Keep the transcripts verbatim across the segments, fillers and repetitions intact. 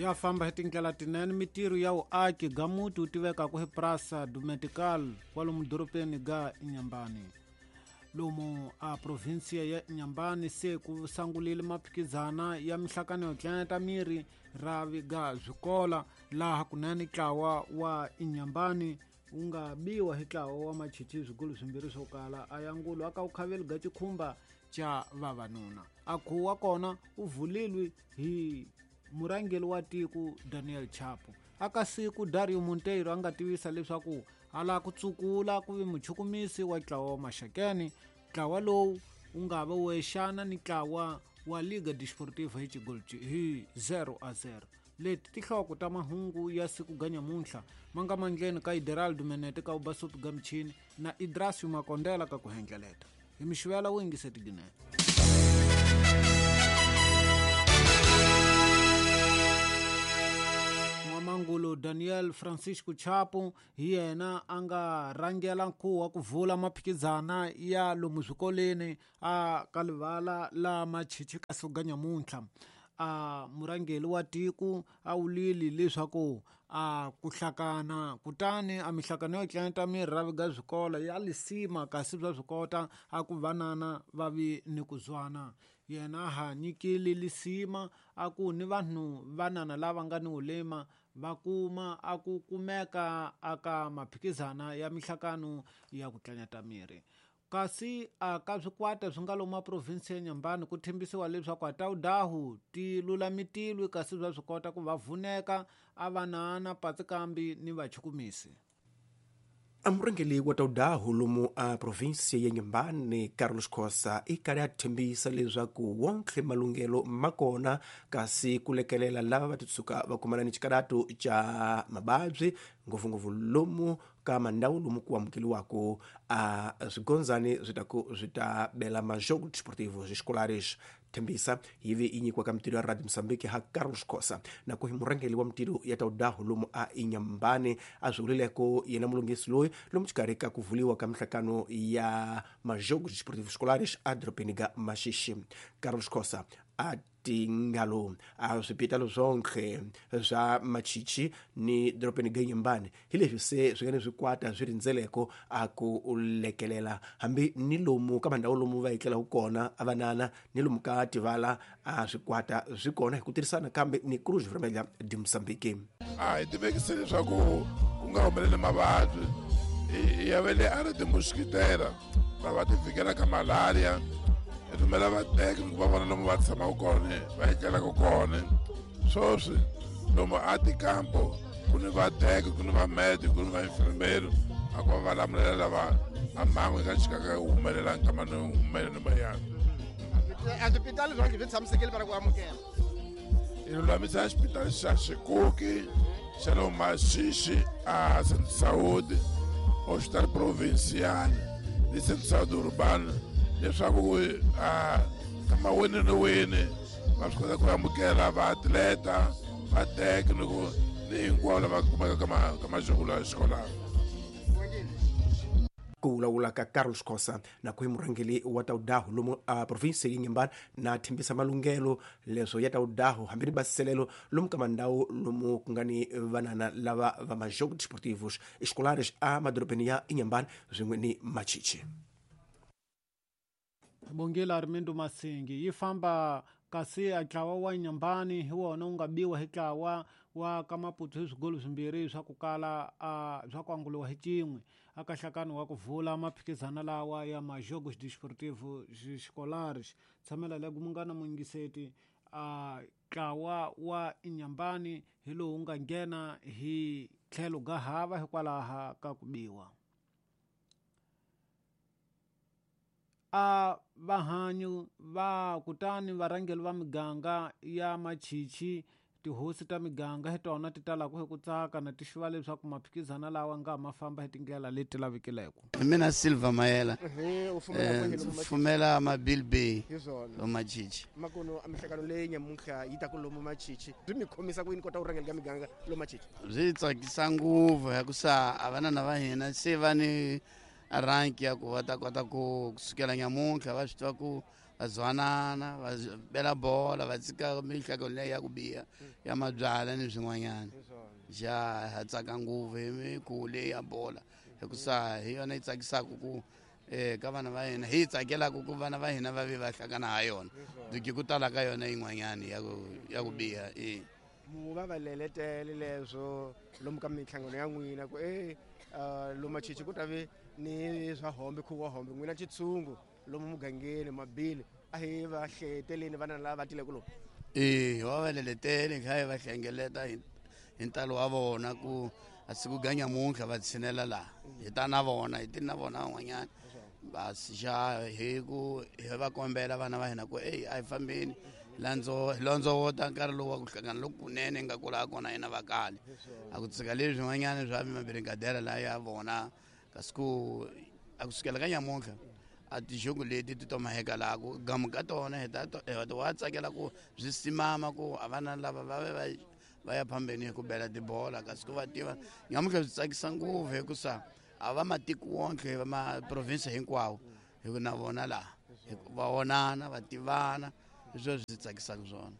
Ya famba hi tindlela tinene mitirho ya vuaki ga muti wu tivekaka hi Praça do Medical kwalomu dorobeni ga Inhambane. Lomu a provinsia ya Inhambane se ku sangulile maphikizana ya mihlakano yo tlaneta miri ravi ga swikola laha kunene ntlawa wa Inhambane wu nga biwa hi ntlawa wa Machichi swigulu swimbirhi swo kala a yangulo aka wu ga xikhumba xa vavanuna. A khuwa kona u vulilwe hi murhangeri wa tiko Daniel Chapo. Aka siku Dario Monteiro a nga tivisa leswaku a lava ku tsukula ku vi muchukumisi wa ntlawa wa Maxakeni. Ntlawa lowu wu nga va wexana ni ntlawa wa Liga Desportiva hi xigolo hi zero a zero. Leti tinhloko ta mahungu ya siku ga nyamuntlha ma nga mandleni ka Ideraldo Menete ka Ubasupi ga michini na Idrasio Makondela ka ku hendleleta. Hi mixivela wu yingise tiginene. Mangulo Daniel Francisco Chapo hi yena a nga rhangela nkhuvo wa ku vula maphikizana ya lomu swikoleni a ka livala la Machichi ka siku ga nyamuntlha. A murhangeri wa tiko a wulile leswaku a ku hlakana kutani a mihlakano yo tlanta miri ravi ga swikolo ya lisima kasi bya swikota a ku vanana va vi ni ku zwana. Yena ha nyikile lisima a ku ni vanhu vanana lava nga ni ulema va kuma a ku kumeka aka maphikizana ya mihlakano ya ku tlanyata miri. Kasi a ka swikwata swi nga lomu province ya Inhambane ku thembisiwa leswaku a tawudahu ti lulamitilwe kasi bya swi kota ku va vuneka a vanana patsikambi ni vachukumisi. A murhangeri wa tawudahu lomu a provinsia ya Inhambane Carlos Khosa i karhi a thembisa leswaku wonke malunghelo ma kona kasi ku lekelela lava va titshuka va kumana ni xikarato xa mavabyi ngopfungopfu lomu ka mandhawu lomu ku amukeliwaka a swigondzani swi ta ku swi ta bela majogo desportivos escolares. Thembisa yi ve yi nyikiwa ka mitirho ya Radio Mozambique ha Carlos Khosa na ku hi murhangeri wa mitirho ya tawudahu lomu a Inhambane a swi vulileko yena mulunghisi loyi lomu xikarhi ka ku vuliwa ka mihlakano ya majogo desportivos escolares a dorobeni ga Maxixi. Carlos Khosa a tingalo a swipitalo swonke swa Machichi ni dorobeni ga Inhambane hi leswi se swi nga ni swikwata swi rindzeleko a ku lekelela hambi ni lomu ka mandhawu lomu va etlelaku kona a vanana ni lomu ka tivala a swikwata swi kona hi ku tirhisana kambe ni Cruz Vermelha de Mozambique. A hi tivekise leswaku ku nga humeleli mavabyi ya ve le a ri timuskitera va va ti fikela ka malaria hi rhumela vateki va vona lomu va tshamaka kona va etlelaka kona. Sweswi lomu a tikampo ku ni vateki ku ni vamedi ku ni vainfirmeri a ku va va lamulela lava a mhangu yi nga chikaka yi humelela nkama ni humeleni mayani. A swipitali swonke swi tshamisekile va ku amukela. Hi lulamisa xipitali xa Xikuki xa lomu Maxixi a Centro Saúde, Hospital Provincial ni Centro Saúde Urbano leswaku a kama wini ni wini va swi kota ku amukela vaatleta vateki ni ku ni hinkwavo lava kumeka ka ka majoko ya xikolano. Ku vulavula ka Carlos Khosa na ku hi murhangeri wa tawudahu lomu a provinsia ya Inhambane na thembisa malunghelo leswo ya tawudahu hambi ni basiselelo lomu ka mandhawu lomu ku nga ni vanana lava va majogo desportivos escolares a madorobeni ya Inhambane swin'we ni Machichi. Bongela Armindo Masingi yi famba kasi a ntlawa wa Inhambane hi wona wu nga biwa hi ntlawa wa ka Maputo hi swigolo swimbirhi swa ku kala a swa ku anguliwa hi cin'we aka nhlakano wa ku vula maphikizana lawa ya majogos desportivos escolares. Tshamela le ku mungana muyingiseti a ntlawa wa Inhambane hi lowu nga nghena hi tlhelo ga hava hikwalaho ka ku biwa. A vahanyu va kutani varhangeri va miganga ya Machichi tihosi ta miganga hi tona ti talaka hi ku tsaka na ti xiva leswaku maphikizana lawa nga ma famba hi tindlela leti lavekileko. Mina Silva Mayela u fumela fumela Mabilbey hi swona lomu Machichi. Makono a mihlakano leyi nyamuntlha yi ta ku lomu Machichi byi mi khomisa ku yini kota ku rhangela ka miganga lomu Machichi? Byi tsakisa ngopfu hikusa a vanana va hina se va ni rank ya ku va ta kota ku kusukela nyamuntlha va swi tiva ku Va zwanana, va bela bola, va tshika mihlako leyi ya ku biha ya mabyala ni swin'wanyana. Ja ha tsaka ngopfu hi mikhuvo leyi ya bola hikusa hi yona yi tsakisaka ku eh ka vana va hina, hi tsakelaka ku vana va hina va ve va hlangana ha yona. Duki ku tala ka yona yin'wanyana ya ku ya ku biha eh. Mu va va leletele leswo lomu ka minhlangano ya n'wina ku eh lomu Machichi ku ta ve ni swa hombe khuvo wa hombe n'wina xitshungu lomu mugangeni mabili a hi va hleteleni vana lava va tileke lomu. Eh va va leletele kha hi va hlengeleta hi hi ntalo wa vona ku a siku ga nyamuntlha va tshinela laha hi ta na vona hi ti na vona van'wanyana basi xa hi ku hi va kombela vana va hina ku ey a hi fambeni landzo londzovota nkarhi lowu wa ku hlangana loku kunene nga kula kona hina va kale a ku tshika leswi swin'wanyana swa mabiringadera laha ya vona kasi ku a ku sukela ka nyamuntlha a tixungu leti ti tomaheka laha ku gamu ka tona hi ta wa tsakela ku byi simama ku a vana lava va ve va va ya phambeni hi ku bela tibola kasi ku va tiva nyamuntlha byi tsakisa ngopfu hikusa a va matiko wonke va ma province hinkwawo hi ku na vona laha va vonana va tivana hi swona swi tsakisaka swona.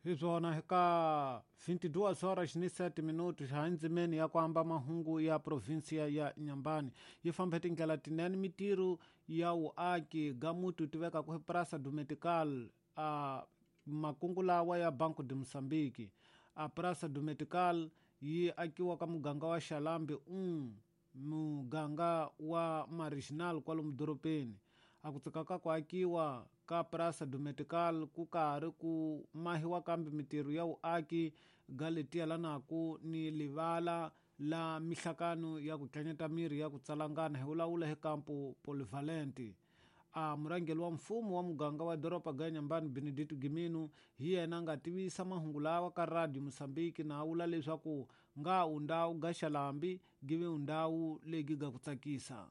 Hi swona ka vinte e duas horas ni sete minutos ha ndzimeni ya ku amba mahungu ya provinsia ya Inhambane yi famba hi tindlela tinene mitirho ya vuaki ga muti wu tivekaka hi Praça do Metical a makungu lawa ya Banco de Moçambique. A Praça do Metical yi akiwa ka muganga wa Xalambe um muganga wa Marginal kwalomu dorobeni. A ku tsika ka ku akiwa ka Praça do Metical ku karhi ku mahiwa kambe mitirho ya vuaki ga leti yelanaku ni livala la mihlakano ya ku tlanyeta miri ya ku tsalangana hi vulavula hi kampo Polivalente. A murhangeri wa mfumo wa muganga wa doroba ga Inhambane Benedito Gimino hi yena a nga tivisa mahungu lawa ka Radio Moçambique na a vula leswaku nga undhawu ga Xalambi give undhawu legi ga ku tsakisa.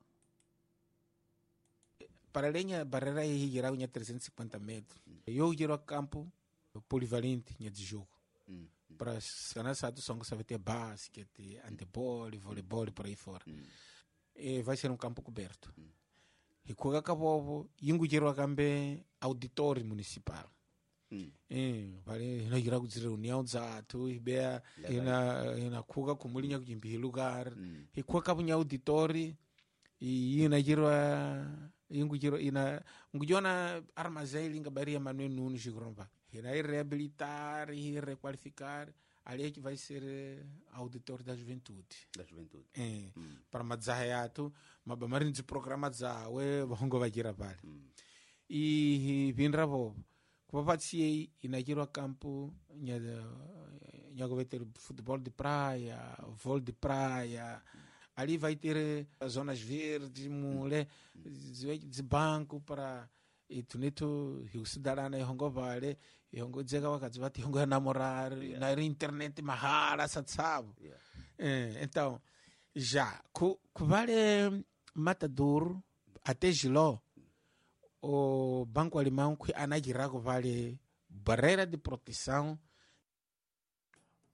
Para além da barreira é geral em trezentos e cinquenta metros. Eu gero campo polivalente de jogo. Mm. Para sanar só que sabe ter basquete, handebol, voleibol por aí fora. Mm. E vai ser um campo coberto. Mm. E com acabou, ingo gero cambe auditório municipal. Mm. E vale, não gero de reunião zato, e bea e na e na kuga kumulinya kujimbi lugar. Mm. E com acabou auditório e ina gero ingujiro ina ngujona armazém linga baria Manuel Nunes Gromba. Irá reabilitar e requalificar. Ali é que vai ser auditor da juventude. Da juventude. É, hum. Para madzahayatu, mabamarin de programa zawe bongo vajira pale. Hum. E vinra bobo. Kupapatsi inajirwa campo nya nya futebol de praia, vôlei de praia. Ali vai ter zonas verdes, mule, de banco para e tuneto hiusidarana ihongo vale, ihongo dzeka wakadzi vati ihongo namorar, yeah. Na internet mahara satsabo. Yeah. É, então, já, ku, ku vale Matador até Giló, o Banco Alemão que anajirako vale barreira de proteção.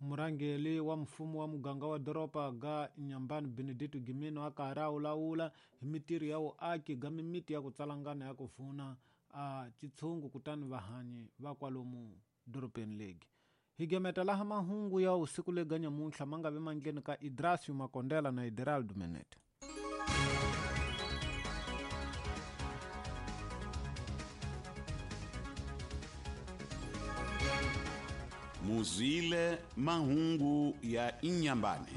Murhangeri wa mfumo wa muganga wa doroba ga Inhambane Benedito Gimino a karhi a vulavula hi mitirho ya vuaki ga mimiti ya ku tsalangana ya ku pfuna a xitshungu kutani vahanyi va kwalomu dorobeni legi. Hi gemeta laha mahungu ya usiku lega nyamuntlha ma nga vi mandleni ka Idrasio Makondela na Ideraldo Menete. Muzile mahungu ya Inhambane.